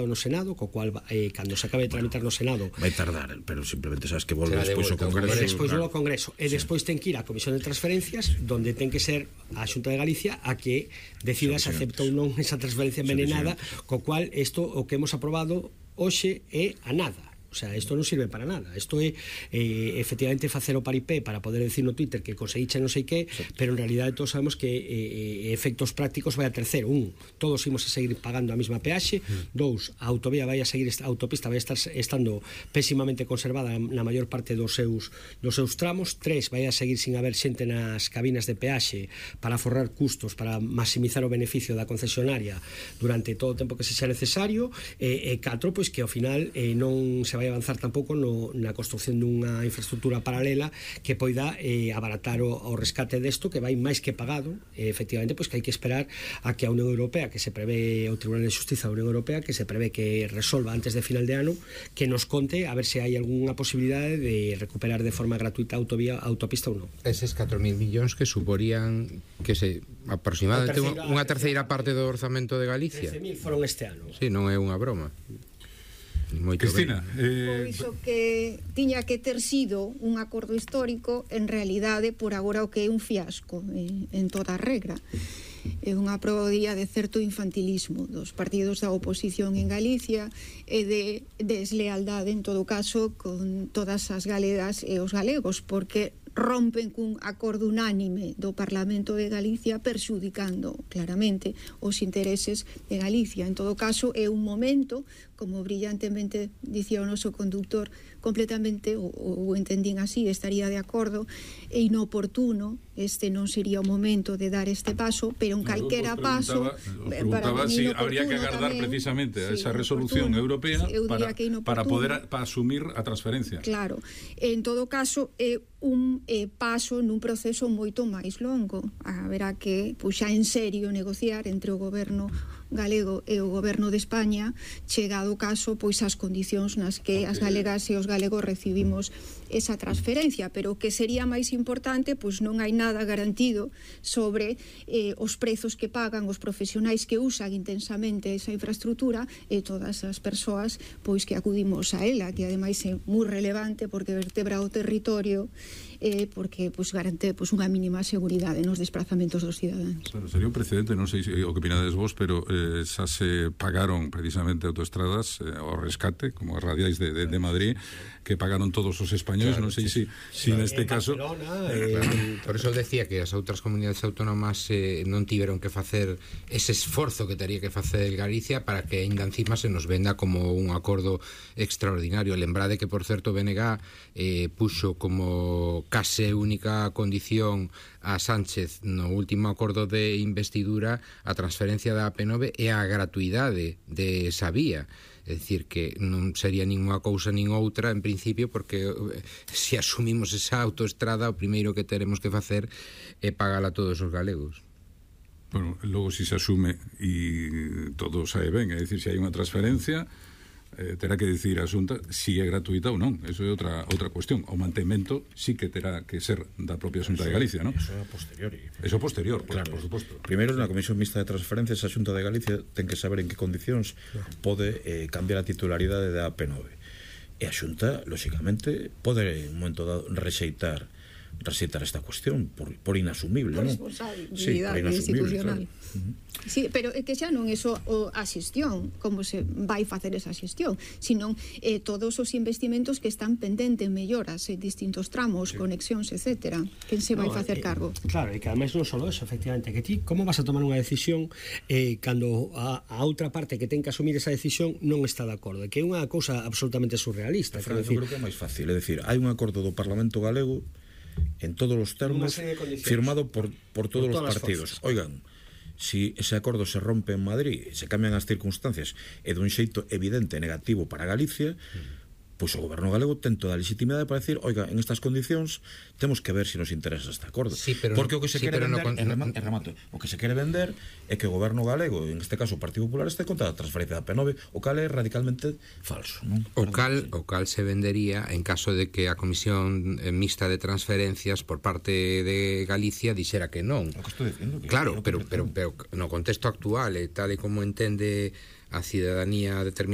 no Senado, co cual cando se acabe de tramitar no Senado vai tardar, pero simplemente sabes que volve despois ao Congreso, despois ao Congreso e despois ten que ir á Comisión de Transferencias, donde ten que ser a Xunta de Galicia a que decida se acepta ou non esa transferencia envenenada, co cual isto o que hemos aprobado hoxe é a nada. O sea, isto non sirve para nada. Isto é efectivamente facer o paripé para poder decir no Twitter que conseguiche non sei que, pero en realidade todos sabemos que efectos prácticos vai a tercer. Todos imos a seguir pagando a mesma peaxe. Dous, a autovía vai a seguir, a autopista vai a estar estando pésimamente conservada na maior parte dos seus tramos. Tres, vai a seguir sin haber xente nas cabinas de peaxe para forrar custos, para maximizar o beneficio da concesionaria durante todo o tempo que sexa necesario. E catro, pois que ao final non se vai avanzar tampouco na construción dunha infraestructura paralela que poida abaratar o rescate desto, que vai máis que pagado. Efectivamente, pois que hai que esperar a que a Unión Europea, que se prevé o Tribunal de Xustiza da Unión Europea, que se prevé que resolva antes de final de ano, que nos conte a ver se hai algunha posibilidade de recuperar de forma gratuita a autopista ou non. Eses 4.000 millóns que suporían que se aproximadamente unha terceira parte do orzamento de Galicia. 13.000 foron este ano. Sí, non é unha broma. Cristina, pois o que tiña que ter sido un acordo histórico, en realidade por agora o que é un fiasco en toda a regra. É unha probadía de certo infantilismo dos partidos da oposición en Galicia e de deslealdade, en todo caso, con todas as galegas e os galegos, porque rompen cun acordo unánime do Parlamento de Galicia perxudicando claramente os intereses de Galicia. En todo caso, é un momento, como brillantemente dicía o noso conductor, completamente, ou entendín así, estaría de acordo, é inoportuno, este non sería o momento de dar este paso, pero en calquera paso preguntaba si habría que agardar tamén, precisamente a esa resolución europea para poder asumir a transferencia. Claro, en todo caso é un paso nun proceso moito máis longo. Haberá que, pois xa en serio, negociar entre o goberno galego e o goberno de España, chegado o caso, pois as condicións nas que as galegas e os galegos recibimos esa transferencia, pero o que sería máis importante, pois non hai nada garantido sobre os prezos que pagan os profesionais que usan intensamente esa infraestructura e todas as persoas pois que acudimos a ela, que ademais é moi relevante porque vertebra o territorio, porque pois garante pois unha mínima seguridade nos desplazamentos dos cidadáns. Bueno, sería un precedente, non sei o que opinades vos, pero xa se pagaron precisamente autoestradas ao rescate, como as radiais de Madrid, que pagaron todos os españoles, claro, non sei se neste caso por eso decía que as outras comunidades autónomas non tiveron que facer ese esforzo que teria que facer Galicia para que ainda encima se nos venda como un acordo extraordinario. Lembrade que, por certo, BNG puxo como case única condición a Sánchez no último acordo de investidura a transferencia da AP9 e a gratuidade de esa vía. É dicir, que non sería nin unha cousa nin outra en principio, porque se asumimos esa autoestrada, o primeiro que teremos que facer é pagala a todos os galegos. Bueno, logo se asume e todo sae ben, é dicir, se hai unha transferencia, terá que dicir a Xunta si é gratuita ou non. Eso é outra cuestión. O mantemento sí que terá que ser da propia Xunta de Galicia, non? Eso é posteriori. Eso posterior, claro, por suposto. Primeiro, na Comisión Mixta de Transferencias, a Xunta de Galicia ten que saber en que condicións pode cambiar a titularidade da AP9. E a Xunta, lóxicamente, pode en un momento dado rexeitar esta cuestión por inasumible, por non? responsabilidade institucional, claro. Sí, pero é que xa non é só a xestión, como se vai facer esa xestión, senón todos os investimentos que están pendentes, melloras en distintos tramos, conexións, etcétera. Quen se vai facer cargo? Claro, e que ademais non só eso, efectivamente, que ti como vas a tomar unha decisión cando a outra parte que ten que asumir esa decisión non está de acordo, que é unha cousa absolutamente surrealista. Eu creo que é máis fácil, é dicir, hai un acordo do Parlamento galego en todos os termos firmado por todos os partidos. Oigan, si ese acordo se rompe en Madrid, se cambian as circunstancias e dun xeito evidente negativo para Galicia, pois o goberno galego ten toda a legitimidade para decir, oiga, en estas condicións temos que ver se nos interesa este acordo. Sí, pero porque o que se quere vender, o que se quere vender é que o goberno galego, en este caso o Partido Popular, este contra a transferencia da P9, o cal é radicalmente falso, non? O cal se vendería en caso de que a Comisión Mixta de Transferencias por parte de Galicia dixera que non. O que estou dicindo, que claro, pero no contexto actual, tal e como entende a cidadanía determinada